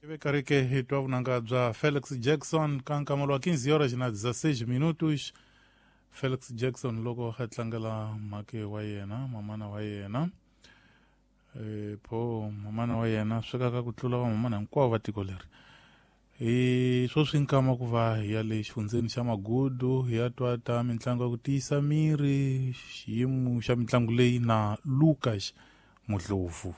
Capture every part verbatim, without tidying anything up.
Ive hi twa vunanga bya Felix Jackson ka nkamelo wa quinze horas na dezesseis minutos. Felix Jackson loko a tlangela mhake wa yena, mamana wa yena. E po mamana wa yena swekaka ku tlula va mamana hinkwavo va tiko leri. Hi sweswi nkama ku va hi ya le xifundzeni xa Magudu hi ya twa ta mitlangu ya ku tiyisa miri, xiyimo xa mitlangu leyi na Lucas Mudlovu.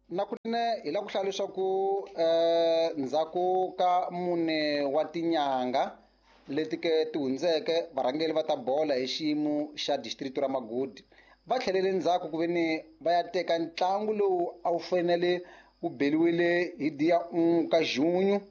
Na kunene hi lava ku hlaya leswaku um ndzhaku ka mune wa tinyanga leti ke ti hundzeke varhangeri va ta bola hi xiyimo xa district ra Magudu va tlhelele ndzhaku ku ve ni va ya teka ntlangu lowu a wu fanele wu beliwile hi dia un ka junho.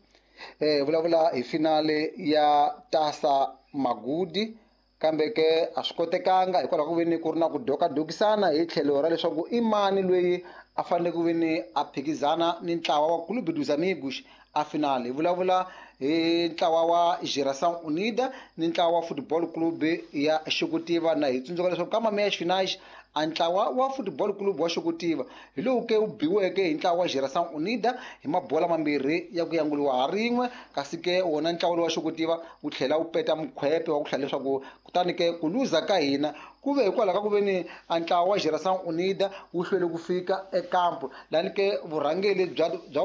Eh vulavula hi finale ya Taça Magudi, kambe ke a swi kotekanga hikwalaho ku ve ni ku ri na ku dokadokisana hi tlhelo ra leswaku i mani loyi a fanele ku ve ni a phikizana ni ntlawa wa Clube dos Amigos a finale. Hi vulavula hi ntlawa wa Geração Unida ni ntlawa wa Football Club ya Xokutiva, na hi tsundzuka leswaku ka meias finais a ntlawa wa Football Club wa Xokutiva hi lowu ke wu biweke hi ntlawa wa Geração Unida hi mabola mambirhi ya ku yanguliwa ha rin'we, kasi ke wona ntlawa lowu wa Xokutiva wu tlhela wu peta mukhwepe wa ku hlaya leswaku kutani ke ku luza ka hina ku ve hikwalaho ka ku ve ni a ntlawa wa Geração Unida wu hlwele ku fika ekampu lani ke vurhangeri bya bya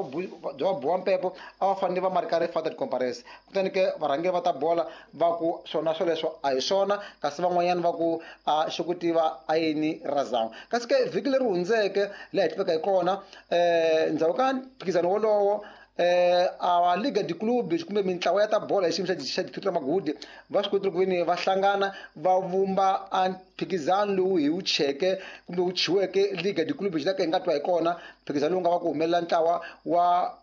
bya Boampepo a va fanele va marika ri faute de comparese, kutani ke varhangeri va ta bola va ku swona swoleswo a hi swona, kasi van'wanyana va ku a Xokutiva a yini razão. Kasi ke vhiki leri hundzeke laha hi tiveka hi kona um ndzhaku ka mphikizano wolowo eh a Liga de Clubes kumbe mintlawa ya ta bola hi xiyimo xa xa district ra Magudi va swi kotile ku ve ni va hlangana va vumba a mphikizano lowu hi wu cheke kumbe wu chiweke Liga de Clubes la ka hi nga twa hi kona mphikizano lowu nga va ku humelela ntlawa wa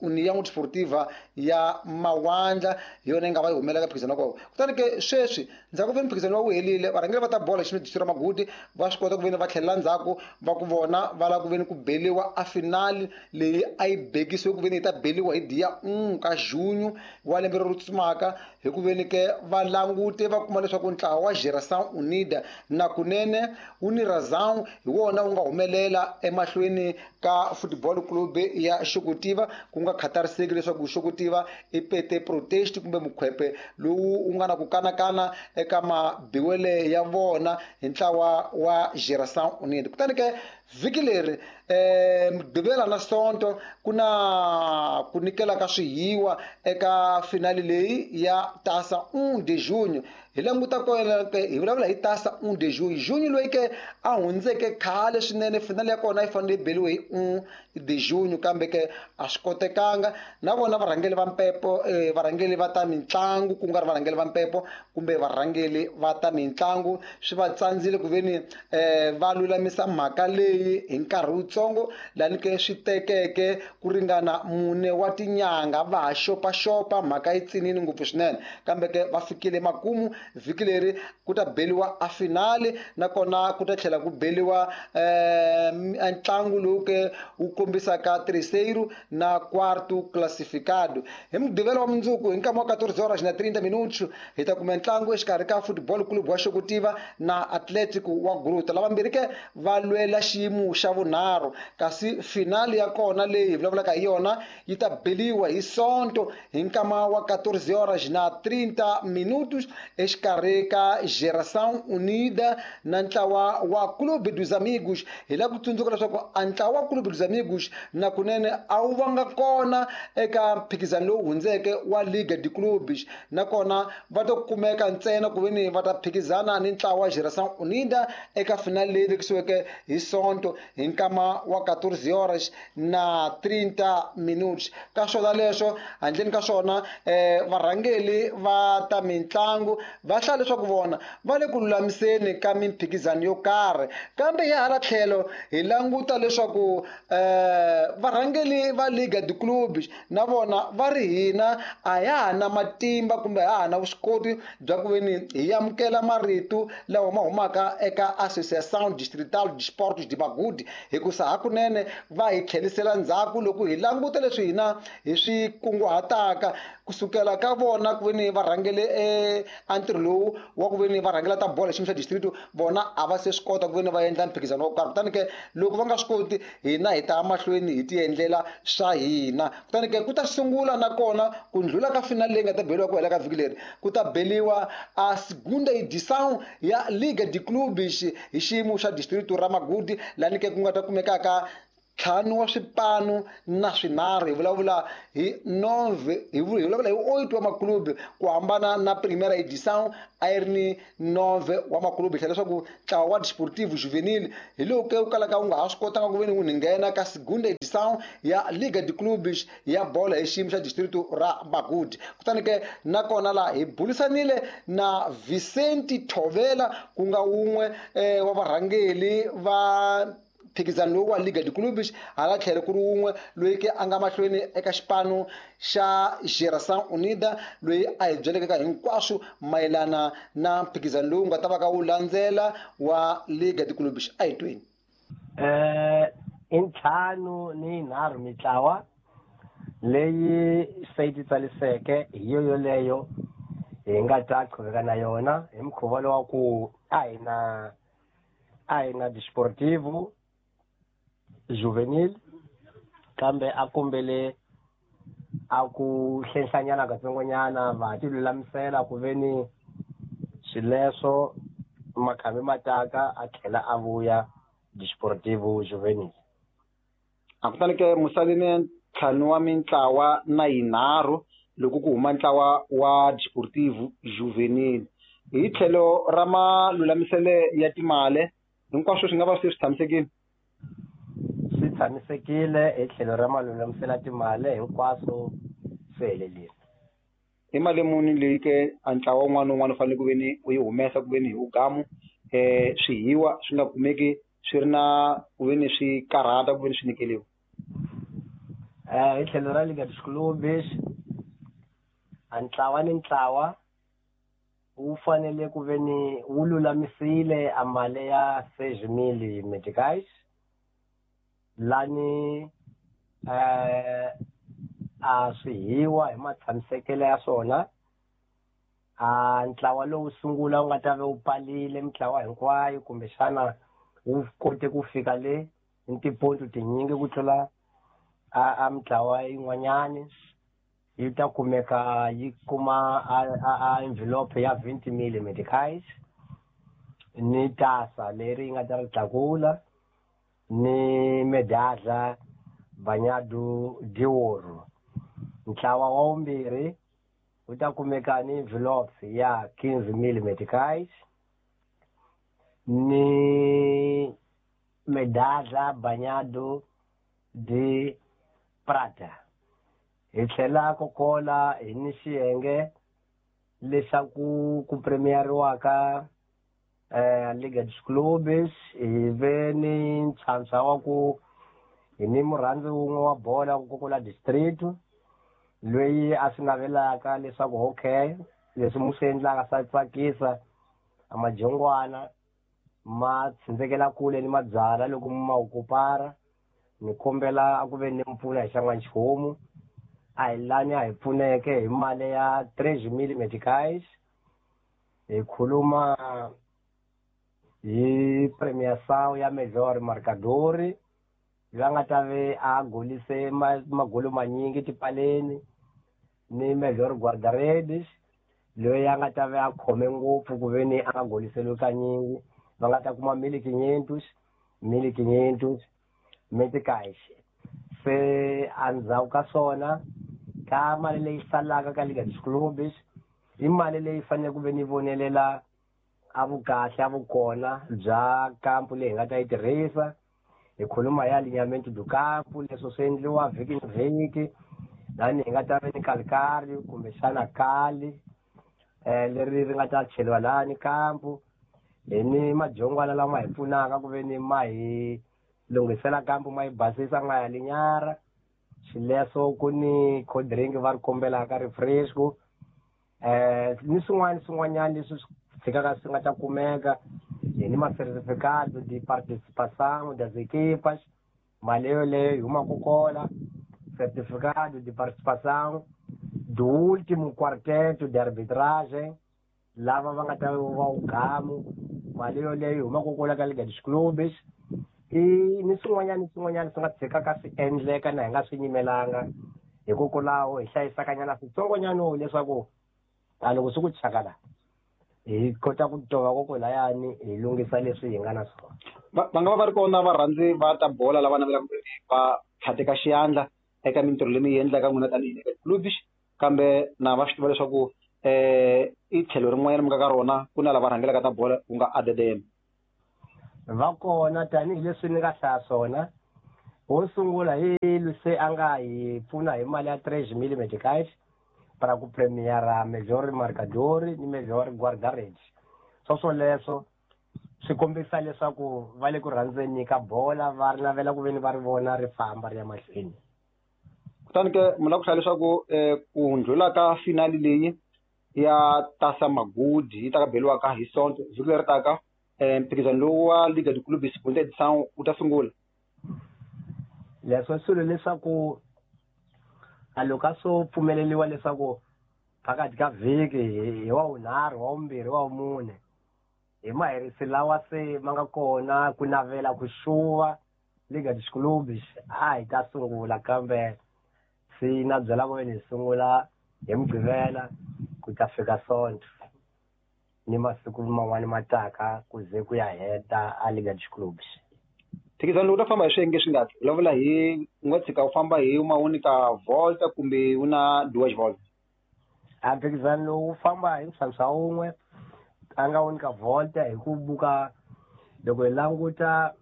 União Desportiva ya Mawandla hi yona yi nga va yi humelela ka mphikizano wa kona. Kutani ke sweswi ndzhaku ve mphikizano wa wu helile varhangeri va ta bola xiyimo xa district ra Magudi va swi kota ku ve ni va tlhelela ndzhaku va ku vona va lava ku ve ni ku beliwa a finale leyi a yi bekisiwe ku ve ni yi ta beliwa hi dia un ka junho wa lembe leri tsumaka, hi ku ve ni ke va langute va kuma leswaku ntlawa wa Geração Unida na kunene wu ni razão hi wona wu nga humelela emahlweni ka Football Club ya Xokutiva, ku nga khathariseki leswaku Xokutiva i pete protest kumbe mukhwepe lowu wu nga na ku kanakana eka mabiwele ya vona hi ntlawa wa Geração Unida. Kutani ke vhiki leri eh Mugqivela na Sonto ku na ku nyikela ka swihiwa eka finale leyi ya Taça un de junho. Hi languta kona ke hi vulavula hi Taça un de junho, junho loyi ke a hundzeke khale swinene, finale ya kona yi fanele yi beliwe hi un de junho, kambe ke a swi kotekanga. Na vona varhangeri va mpepo eh, varhangeri va ta mitlangu ku nga ri varhangeri va mpepo kumbe varhangeri va ta mitlangu swi va tsandzile ku ve ni eh, va lulamisa mhaka leyi hi nkarhi wutsongo lani ke swi tekeke ku ringana mune wa tinyanga va ha xopaxopa mhaka yi tsinini ngopfu swinene, kambe ke va fikile makumu. Vhiki leri ku ta beliwa a finale nakona ku ta tlhela ku beliwa eh, ntlangu lowu ke wu kombisaka terceiro na quarto classificado. Hi Mugqivela wa mundzuku hi nkama wa quatorze horas na trinta minutos hi ta kuma ntlangu exikarhi ka Football Club wa Xokutiva na Atlético wa Gruta, lavambirhi ke va lwela xiyimo xa vunharhu, kasi finale ya kona leyi hi vulavulaka hi yona yi ta beliwa hi Sonto hi nkama wa quatorze horas na trinta minutos exikarhi ka Geração Unida na ntlawa wa Clube dos Amigos. Hi lava ku tsundzuka leswaku a ntlawa wa Clube dos Amigos na kunene a wu vanga kona eka mphikizano lowu hundzeke wa Liga de Clubes, nakona va ta kumeka ntsena ku ve ni va ta phikizana ni ntlawa wa Geração Unida eka finale leyi vekisiweke hi Sonto hi nkama wa quatorze horas na trinta minutos. Ka swona leswo handleni ka swona eh, varhangeri va ta mitlangu va hlaya leswaku vona va le ku lulamiseni ka mimphikizano yo karhi, kambe hi hala tlhelo hi languta leswaku eh, varhangeri va Liga de Clubes na vona va ri hina a ya ha na matimba kumbe a ha na vuswikoti bya ku ve ni hi amukela marito lawa ma humaka eka Associação Distrital de Esportes de Magudu, hikusa hakunene va hi tlhelisela ndzhaku loko hi languta leswi hina hi swi kunguhataka. Kusukela ka vona ku veni va rhangele a ntirho lowu wa ku veni va rhangela ta bolo hi xiyimo xa district, vona a va se swi kota ku veni va endla mphikizano wo karhi. Kutani ke loko va nga swi koti, hina hi ta mahlweni hi ti endlela swa hina. Kutani ke ku ta sungula nakona ku ndlhula ka final leyi nga ta beriwa ku hela ka vhiki leri, ku ta beliwa a segunda edição ya Liga de Clubes hi xiyimo xa district ra Magudi, lani ke ku nga ta kumekaka ntlhanu wa swipanu na swinharhu. Hi vulavula hi nove, hi vulavula hi oito wa maklubi, ku hambana na primeira edição a yi ri ni nove wa maklubi. Hi tlhela leswaku ntlawa wa Desportivo Juvenil hi lowu ke wu kalaka wu nga ha swi kotanga ku veni wu nghena ka segunda edição ya Liga de Clubes ya bolo hi xiyimo xa district ra Magudi. Kutani ke nakona laha hi burisanile na Vicente Thovela, ku nga wun'we wa varhangeri va mphikizano lowu wa Liga de Clubes, hala tlhelo ku ri wun'we loyi ke a nga mahlweni eka xipano xa Geração Unida, loyi a hi byeleke ka hinkwaswo mayelana na mphikizano lowu nga ta va ka wu landzela wa Liga de Clubes. A hi tweni. Eh i ntlhanu ni nharhu mitlawa leyi se yi titsaliseke, hi yo yoleyo hi nga ta qhuveka na yona hi mukhuva lowa ku a hi na a hi na Desportivo Juvenil, kambe a kombele a ku hlenhlanyana katsongonyana va ti lulamisela ku veni swileswo makhambi mataka a tlhela a vuya Desportivo Juvenil. A kutani ke musalini ntlhanu wa mintlawa na yinharhu loko ku huma ntlawa wa Desportivo Juvenil. Hi tlhelo ra malulamisele ya timali, hinkwaswo swi nga va swi swi tshamisekile? Swi tshamisekile hi tlhelo ra malulamisela timali, hinkwaswo swi helelile. I mali muni leyi ke a ntlawa wun'wana na wun'wana u fanele ku veni u yi humesa ku veni hi wugamu swihiwa swi nga kumeki swi ri na ku veni swi karhata ku veni swi nyikeliwa? Eh hi tlhelo ra Liga de Clubes, a ntlawa ni ntlawa wu fanele ku veni wu lulamisile a mali ya seis mil meticais, lani eh a swihiwa hi matshamisekelo ya swona. A ntlawa lowu sungula wu nga ta va wu palile mitlawa hinkwayo, kumbexana wu kote ku fika le ni tiponto tinyingi ku tlula a a mitlawa yin'wanyani, yi ta kumeka yi kuma a a envelope ya twenty mil meticais ni tasa leri yi nga ta ri tlakula ni medadla banyadu dioro. Ntlawa wa vumbirhi wu ta kumeka ni envelope ya quinze mil meticais ni medadla banyadu di prata. Hi tlhela kokola hi ni xiyenge leswaku ku premieriwaka eh Liga de Clubes, hi ve ni ntlhantlha wa ku hi ni murhandzi wun'we wa bola ku kokola district loyi a swi navelaka leswaku okay leswi mu swi endlaka swa tsakisa, a majongwana ma tsindzekela kule ni mabyala loko mu ma okupara, ni kombela a ku ve ni mpfuna hi xan'wanchumu. A hi lani a hi pfuneke hi mali ya tres mil meticais. Hi khuluma hi premiação ya melhor marcador, loyi a nga ta ve a golise magolo manyingi tipaleni, ni melhor guarda-redes loyi a nga ta ve a khome ngopfu ku ve ni a nga goliseliwi kanyingi, va nga ta kuma mil quinhentos, mil quinhentos meticais. Se endzhaku ka swona ka mali leyi salaka ka Liga de Clubes i mali leyi fanele ku ve ni vonelela a vukahle a vukona bya kampu leyi hi nga ta yi tirhisa. Hi khuluma ya alinhamento do campo, leswo swi endliwa vhiki ni vhiki, lani hi nga ta ve ni calcário kumbexana kali eh leri ri nga ta cheliwa lani kampu. Hi ni majongwana lama hi pfunaka ku ve ni ma hi lunghisela kampu, ma yi basisa, ma ya linyara. Xileswo ku ni cold drink va ri kombelaka refresco eh ni swin'wana swin'wanyana leswi swi tshikaka swi nga ta kumeka. Hi ni ma-certificado de participação das equipas, mali yoleyo yi humaka kola, certificado de participação do último quarteto de arbitragem lava va nga ta va ugamu mali yoleyo yi humaka kwala ka Liga dos Clubes i ni swin'wanyana ni swin'wanyana swi nga tshikaka swi endleka na hi nga swi nyimelanga hikokwalaho hi hlayisakanyana switsongonyana leswaku a loko swi ku chakala hi kota ku tova kokolayani hi lunghisa leswi hi nga na swona. Va va nga va va ri kona varhandzi va ta bola lava navelaka ku ri va tlhateka xiyandla eka mintirho leyi mi yi endlaka n'wina tanihi Liga Clubs kambe na va swi tiva leswaku eh i tlhelo rin'wanyana mi nga ka rona ku na lava rhangelaka ta bola ku nga A D D M. Va kona tanihileswi ni nga hlaya swona wo sungula hi luse a nga hi pfuna hi mali ya tres mil meticais para ku premiera melhor marcador ni melhor guarda-redes. Swo swoleswo swi kombisa leswaku va le ku rhandzeni ka bola va ri navela ku veni va ri vona ri famba ri ya mahlweni. Kutani ke mi lava ku hlaya leswaku ku ndlhula ka finali leyi ya Taça Magudi yi ta ka beriwaka hi Sonto vhiki leri taka mphikizano lowu wa Liga dos Clubes segunda edição wu ta sungula. Leswo swilo leswaku a loko a swo pfumeleriwa leswaku phakathi ka vhiki hi wa vunharhu wa vumbirhi wa vumune hi maherisi lawa se ma nga kona ku navela ku xuva Liga dos Clubes a hi ta sungula kambe se na byela ku hi sungula hi Mugqivela ku ta fika Sonto ni masiku man'wani ma taka ku ze ku ya heta a Liga dos Clubes. Mphikizano lowu ta famba hi swiyenge swi ngati vulavula hi u nga tshika u famba hi ma unica volta kumbe u na duas volta? A mphikizano lowu wu famba hi ntlhantlha wun'we a nga unica volta hi ku buka loko hi languta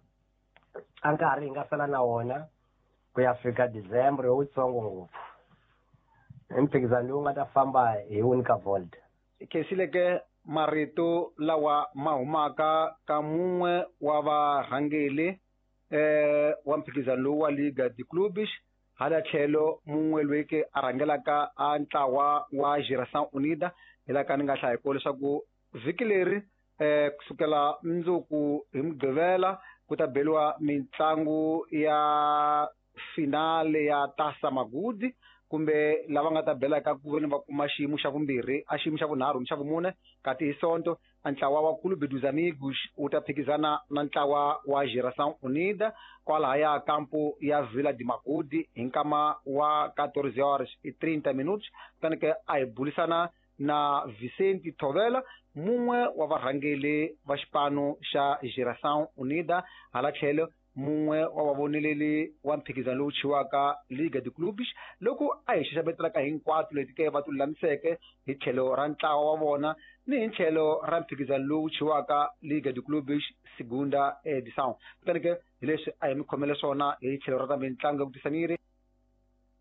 a nkarhi hi nga sala na wona ku ya fika December wutsongo ngopfu. I mphikizano lowu nga ta famba hi unica volta. Khensile ke marito lawa ma humaka ka mun'we wa varhangeli eh wa mphikizano lowu wa Liga dos Clubes hala tlhelo mun'we loyi ke a rhangelaka a ntlawa wa Geração Unida hi laha ka ni nga hlaya kona leswaku vhiki leri eh kusukela mundzuku hi Mugqivela ku ta beriwa mitlangu ya finale ya Taça Magudi kumbe lava nga ta belaka ku veni va kuma xiyimo xa vumbirhi a xiyimo xa vunharhu ni xa vumune kati hi Sonto a ntlawa wa Clube dos Amigos wu ta phikizana na ntlawa wa Geração Unida kwalahaya kampo ya Vila de Magudi hi nkama wa quatorze horas e trinta minutos. Kutani ke a hi bulisana na Vicente Thovela mun'we wa varhangeli va xipano xa Geração Unida hala tlhelo mun'we wa vavoneleli wa mphikizano lowu chiwaka Liga dos Clubes loko a hi xaxametelaka hinkwato leti ke va ti lulamiseke hi tlhelo ra ntlawa wa vona ni hi tlhelo ra mphikizano lowu chiwaka Liga dos Clubes segunda edição. Kutani ke hi leswi a hi mi khomele swona hi tlhelo ra ta mitlangu ya ku tisa miri.